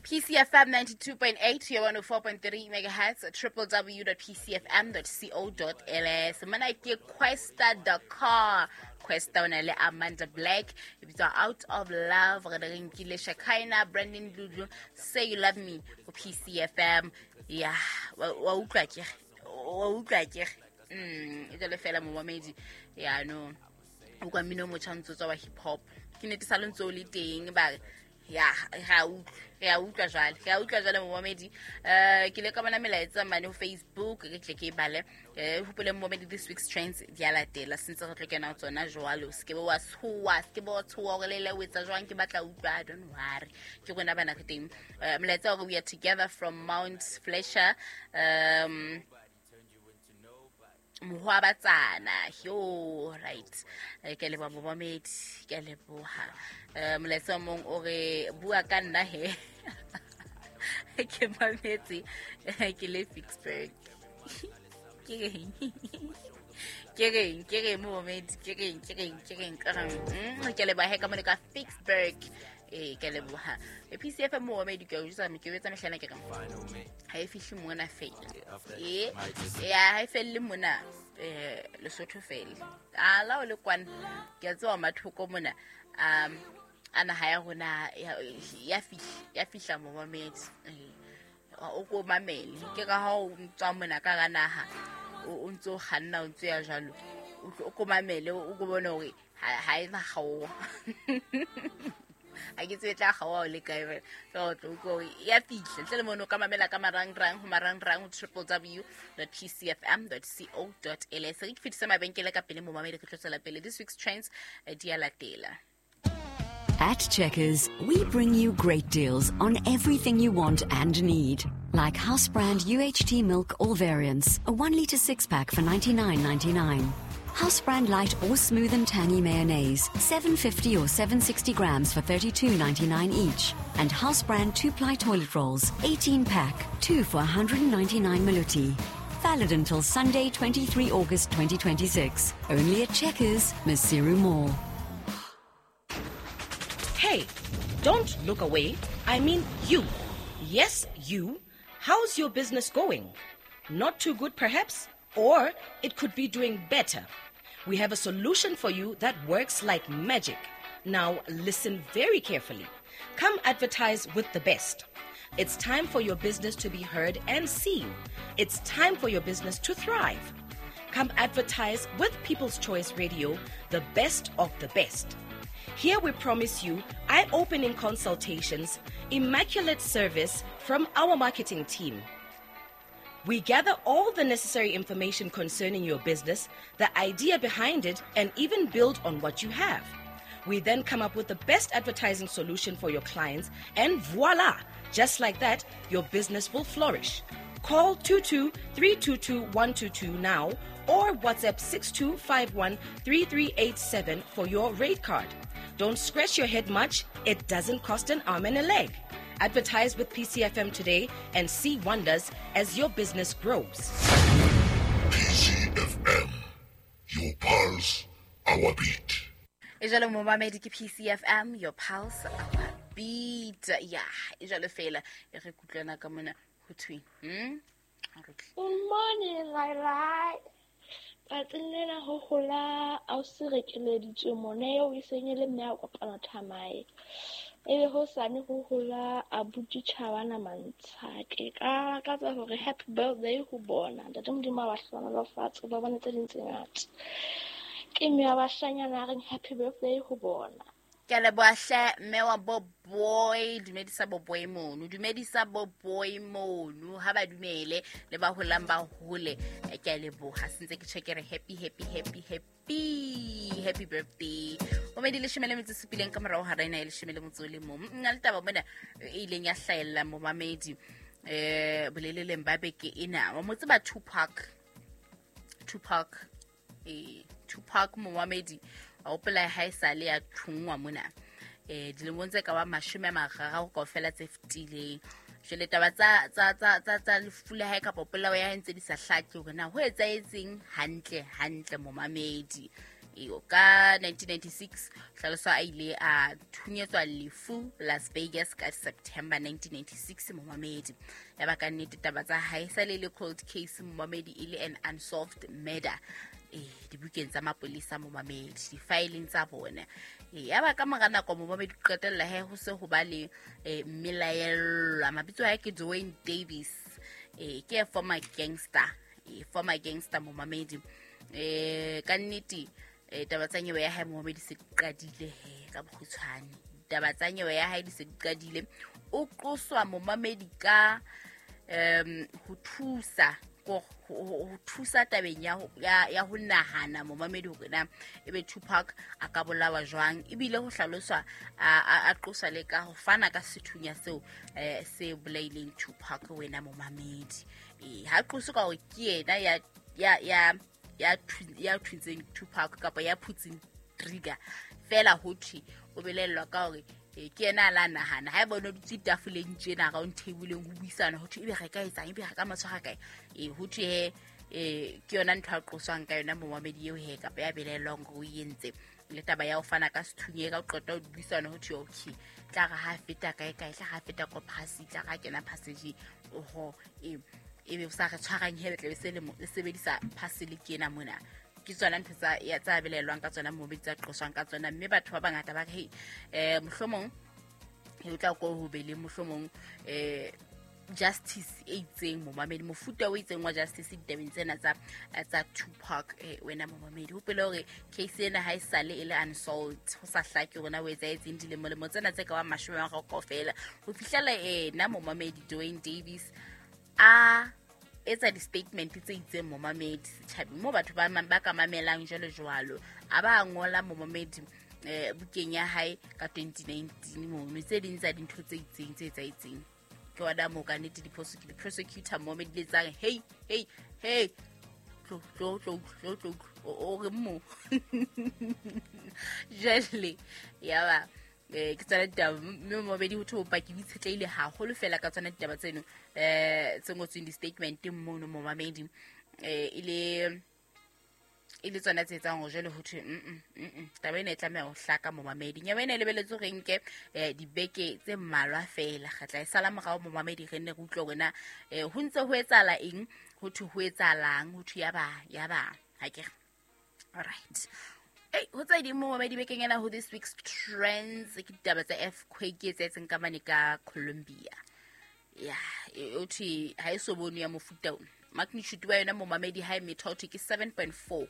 PCFM 92.8 to 104.3 megahertz, www.pcfm.co.ls. Mona ke Kwesta Dakar. Kwesta o na le Amanda Black. E bitswa Out of Love. Re re nkile Shakina, Brandon Dludlu, Say You Love Me go PCFM. Ya, wa utlwa ke. Wa utlwa ke. E jalo fela momamedi. Ya no. O kwa mmino o motjha o ntso tswa wa hip hop. Ke nnete sa le ntso o le teng ba re ya re a utlwa jwale, re a utlwa jwale momamedi. Ke le ka bona melaetsa mane ho Facebook, ke tle ke e bale. Hopole momamedi, this week's trends di a latela, sentse re tlo kena ho tsona jwalo. Se ke be wa tshoha, se ke be wa tshoha hore le le o etsa jwang, ke batla utlwa, don't worry, ke rona bana re teng. Molaetsa hore we are together from Mount Fletcher. Mohoabatsana, yo right. Ke a leboha momamedi, ke a leboha. Molaetsa o mong o re bua ka nna he. Ke mametse, ke le Ficksburg. Ke reng? Ke reng? Ke reng momamedi? Ke reng? Ke reng? Ke reng? Ke reng? Ke a leboha he ka mone ka Ficksburg. Ke a leboha. PCFM momamedi, ke a o jwetsa, ke o etsa mehlana ke reng? Ha e fihle mona fela. Ya, ha e felle mona, Lesotho fela. A la o le kwana, ke a tseba mathoko mona. A naha ya rona ya fihla, ya fihla momamedi. O ko mamele. Ke ka ha o tswa mona ka hara naha, o ntso kganna, o ntso ya jwalo. O tlo, o ko mamele, o ko bone hore ha e na kgaoha. Ha ke tsebe tla kgaoha o le kae, fela. Fela o tlo utlwa hore ya fihla. Ntle le mono o ka mamela ka marangrang, ho marangrang ho triple w dot p c f m dot c o dot l s. Re ke fetise mabenkele ka pele momamedi, re tlo tswela pele. This week's trends, di a latela. At Checkers, we bring you great deals on everything you want and need. Like house brand UHT milk all variants, a 1 litre 6-pack for $99.99. House brand light or smooth and tangy mayonnaise, 750 or 760 grams for $32.99 each. And house brand 2-ply toilet rolls, 18-pack, 2 for 199 maluti. Valid until Sunday, 23 August 2026. Only at Checkers, Maseru Mall. Hey, don't look away. I mean you. Yes, you. How's your business going? Not too good, perhaps? Or it could be doing better. We have a solution for you that works like magic. Now, listen very carefully. Come advertise with the best. It's time for your business to be heard and seen. It's time for your business to thrive. Come advertise with People's Choice Radio, the best of the best. Here we promise you eye-opening consultations, immaculate service from our marketing team. We gather all the necessary information concerning your business, the idea behind it, and even build on what you have. We then come up with the best advertising solution for your clients, and voila! Just like that, your business will flourish. Call 22-322-122 now or WhatsApp 6251-3387 for your rate card. Don't scratch your head much. It doesn't cost an arm and a leg. Advertise with PCFM today and see wonders as your business grows. PCFM, your pulse, our beat. E jalo momamedi ke PCFM, your pulse, our beat. Ya, e jalo fela e re kutlwana ka mona ho thweng. Good morning, Lai. Tsatsing lena ho hola ausi re keleditswe mona eo e seng e le mme a kopana thamae. Ebe hosane ho hola abuti Tjhabana Mantsha. Ke ka lakatsa hore happy birthday ho bona. Ntate Modimo a ba hlohonolofatse, ba bone tse ding tse ngata. Ke mme wa bashanyana a reng happy birthday ho bona. Ke a leboha hle, mme wa bo boy, dumedisa bo boy mono, dumedisa bo boy mono, ha ba dumele, le ba holang ba hole. Ke a leboha, sentse ke tjho ke re happy, happy, happy, happy, happy birthday. O medi leshome le metso e supileng ka morao hara ena ya leshome le motso o le mong. Nna le taba mona e ileng ya hlahella momamedi, boleleleng ba beke ena. Wa mo tseba Tupac? Tupac, Tupac momamedi. Wa hopola ha e sale ya thungwa mona. Dilemong tse ka ba mashome a mararo kaofela tse fetileng. Jwale taba tsa lefu la hae kapa polao ya hae ntse di sa hlake hore na ho etsahetseng hantle, hantle momamedi. Ka 1996 hlalosa a ile a thunyetswa lefu Las Vegas ka September 1996 momamedi. Ya ba ka nnete taba tsa hae sa le cold case momamedi, e le an unsolved murder dibukeng tsa mapolesa momamedi, difaeleng tsa bona. Ya ba ka mora nako momamedi qetella he ho se ho ba le mmelaellwa. Mabitso a hae ke Dwayne Davis, ke a former gangster, former gangster momamedi. Ka nnete taba tsa nyewe ya hae momamedi se di qadile he ka bokgutshwane. Taba tsa nyewe ya hae di se di qadile. O qoswa momamedi ka ho thusa ho thusa tabeng ya ho nahana momamedi hore na ebe Tupac a ka bolawa jwang, ebile ho hlaloswa a qoswa le ka ho fana ka sethunya seo se bolaileng Tupac wena momamedi. Ha qoswe ka hore ke yena ya thuntseng Tupac kapa ya phutseng trigger fela, ho thwe o belellwa ka hore ke yena a la nahana. Ha e bona o dutse tafoleng tjena round table-eng ho buisana, ho thwe ebe re ka etsang, ebe re ka matshwara kae. Ho thwe he ke yona ntho a qoswang ka yona momamedi eo he, kapa ya belellwang hore o entse. Le taba ya ho fana ka sethunya ka ho qeta ho buisana, ho thwe okay, tla re ha feta kae kae, tla ha feta ko phasi, tla re ha kena passage oho, ebe sa re tshwarang he, le tla be se le sebedisa parcel ke ena mona. Ke tsona ntho tsa belellwang ka tsona momamedi, tsa qoswang ka tsona. Mme batho ba bangata ba re hey, mohlomong o tla ko ho be le mohlomong justice e itseng momamedi, mofuta o itseng wa justice ditabeng tsena tsa Tupac wena momamedi. Hopole hore case ena ha e sale e le unsolved, ho sa hlake hore na o etsahetseng dilemolemo tsena tse ka bang 30 kaofela ho fihlela ena momamedi Dwayne Davis a etsa di-statement tse itseng momamedi setjhabeng moo batho ba ka mamelang jwalo jwalo. A ba ngola momamedi bukeng ya hae ka 2019 mono tse ding tsa dintho tse itseng tse etsahetseng. Ke wona moo ka nnete di-prosecutor momamedi le tsang hey hey hey tlo tlo tlo tlo tlo o re mo jwale ya ba ke tsona ditaba. Mme momamedi ho thwe bopaki bo itshetlehile haholo fela ka tsona ditaba tseno tse ngotsweng di-statement mono momamedi, e le tsona tse etsang hore jwale ho thwe taba ena e tlameha ho hlaka momamedi. Nyewe ena e lebeletse hore nke dibeke tse mmalwa fela, re tla e sala morao momamedi, re nne re utlwe hore na ho ntse ho etsahala eng, ho thwe ho etsahalang, ho thwe ya ba ha ke re. All right. Ho tse ding momamedi bekeng ena ho this week's trends ke ditaba tsa earthquake e etsahetseng ka mane ka Colombia. Ya o thwe ha e so bonwe ya mofuta ona. Magnitude wa yona momamedi ha e metha ho thwe ke 7.4.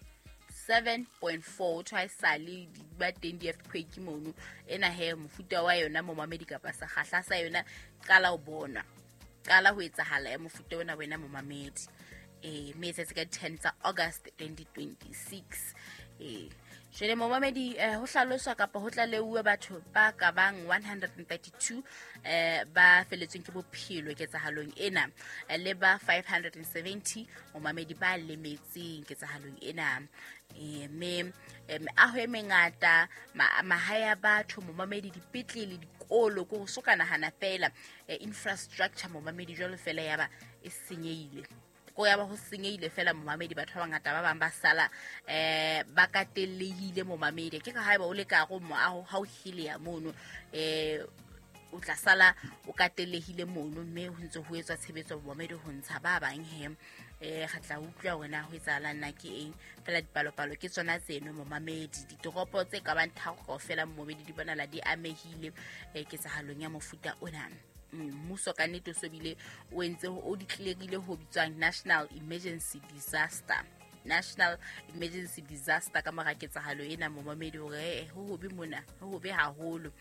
7.4 ho sale ba teng di-earthquake mono. Ena he mofuta wa yona momamedi kapa sekgahla sa yona qala ho bona, qala ho etsahala ya mofuta ona wena momamedi. Mme etsetse ka 10 tsa August 2026. Jwale momamedi ho hlaloswa kapa ho tlaleuwe batho ba ka bang 132 ba feletsweng ke bophelo ketsahalong ena, le ba 570 momamedi ba lemetseng ketsahalong ena. Mme meaho e mengata, mahae a batho momamedi, dipetlele, dikolo, ko ho soka nahana fela infrastructure momamedi jwalo fela ya ba e senyehile. Ko ya ba ho senyehile fela momamedi, batho ba bangata ba bang ba sala ba katellehile momamedi. Ke ka haeba o le ka go moaho ha o hilea mono o tla sala o katellehile mono, mme ho ntse ho etswa tshebetso momamedi ho ntsha ba bang he. Re tla utlwa hore na ho etsahalang na ke eng fela. Dipalopalo ke tsona tseno momamedi. Ditoropo tse ka bang tharo kaofela momamedi di bonala di amehile ketsahalong ya mofuta ona. Mmuso ka nnete o so bile o entse o declare-ile ho bitswang National Emergency Disaster. National Emergency Disaster ka mora ketsahalo ena momamedi, hore ho hobe mona, ho hobe haholo.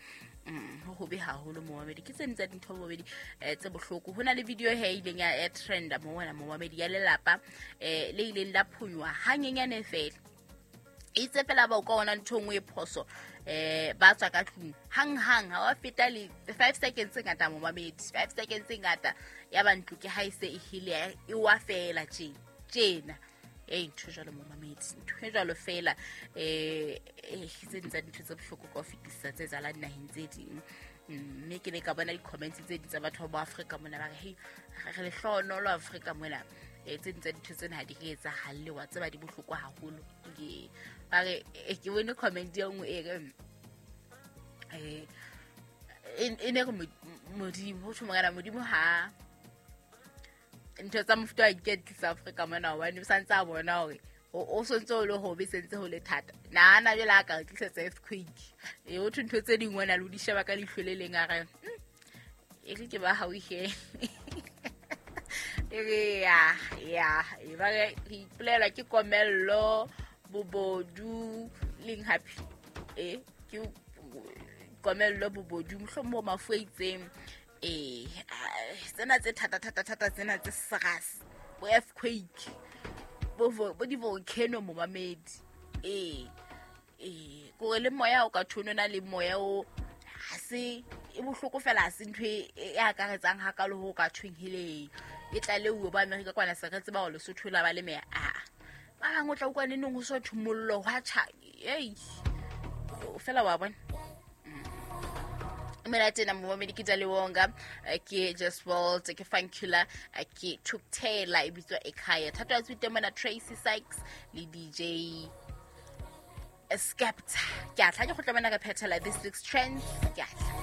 Ho hobe haholo momamedi. Ke tse tsa dintho momamedi tse bohloko. Ho na le video he ileng ya trenda mona momamedi ya lelapa le ileng la phonywa hanyenyane fela. Itse fela ba o ka ona ntho nngwe e phoso ba tswa ka tlung hang hang, ha wa feta le 5 seconds tse ngata momamedi, 5 seconds tse ngata ya ba ntlo ke ha e se e hile e wa fela tjena. Ntho jwalo momamedi, ntho jwalo fela tse ding tsa dintho tse bohloko ka ho fetisisa tse etsahalang dinaheng tse ding. Mme ke ne ka bona di-comments tse ding tsa batho ba Afrika mona ba re hey, re lehlohonolo Afrika mona. Tse ding tsa dintho tsena ha di re etsahalle, wa tseba di bohloko haholo. Ke ba re ke bone comment e nngwe e re e ne re Modimo, ho thwe morena Modimo ha ntho tsa mofuta wa di tlisa Afrika mona, hobane o santse a bona hore o sontse o le hobe, sentse ho le thata. Nahana jwale a ka re tlisetsa earthquake. E ho thwe ntho tse ding wena le o di sheba ka leihlo le leng, a re e re ke ba hauhe. E re ya ya e ba re ipolelwa ke komello, bobodu leng happy e ke komello, bobodu, mohlomong bo mafu a itseng. Tsena tse thata thata thata, tsena tse serious, bo earthquake, bo di-volcano, momamedi. Kore le moya o ka thone na le moya o ha se e bohloko fela, ha se ntho e akaretsang hakalo ho ka thweng hele e tlaleuwe bo Amerika kwana, se re tseba hore Lesotho la ba le meya. A ba bang o tla utlwa neneng ho so thwe mollo hwa tjha, ei fela wa bona. Mina tena momamedi ke Daliwonga, ke Just World, ke Funkula, ke Tuktaylor, e bitswa Ekhaya. Thato ya tswite mona Tracy Sykes le DJ Skepta. Ke a tla ke kgutla mona re phethela this week's trends. Ke a tla.